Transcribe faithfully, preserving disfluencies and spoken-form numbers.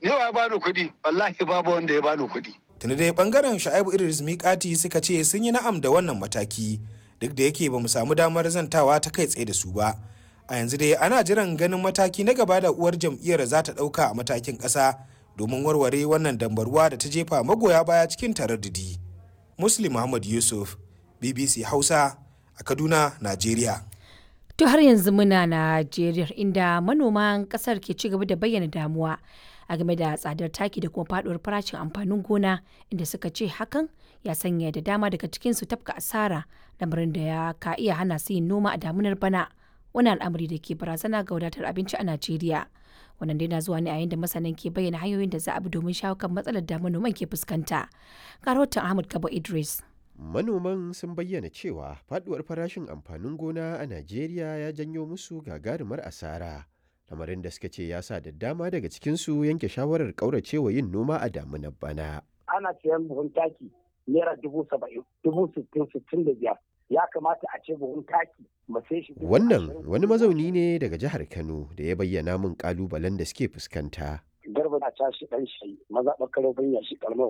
Ni wa ya bani kuɗi? Wallahi babu wanda ya bani kuɗi. Tuni dai bangaren Sha'ibu Idris Mikati suka ce sun yi na'am da wannan mataki duk da yake ba mu samu damar zantawa ta kai tsaye da su ba. A yanzu dai ana jiran ganin mataki na gaba da uwar jam'iyyar za ta ɗauka a matakin ƙasa domin warware wannan dambarwa da ta jefa magoya baya cikin taraddudi. Muslim Muhammad Yusuf, B B C Hausa, a Kaduna, Najeriya. To, har yanzu muna Najeriya, inda manoman kasar ke ci gaba da bayyana damuwa a game da tsadar taki da kuma faduwar farashin amfanin gona, inda suka ce hakan ya sanya da dama daga cikin su tafka asara, lamarin da ya ka iya hana su yin noma a damunar bana. Wani al'amari da ke barazana ga wadatar abinci a Najeriya. Wannan dai na zuwa ne a yayin da masanan ke bayyana hanyoyin da za a bi domin shawo kan matsalar da manoman ke fuskanta. Ga rahoton Ahmad Kabo Idris. Manoman sun bayyana cewa faduwar farashin amfanin gona a Najeriya ya janyo musu gagarumar asara. Lamarin da suka ce ya sa da dama daga cikinsu yanke shawarar ƙauracewa yin noma a damunar bana. Ana siyan buhun taki naira dubu saba'in, dubu sittin, sittin da biyar. Ya kamata a ce buhun taki mu sai shi dubu Wannan ashirin. wani mazauni ne daga jihar Kano da ya bayyana min ƙalubalen da suke fuskanta. Garba na tashi ɗan shi mazaɓar Karofin Yashi, ƙaramar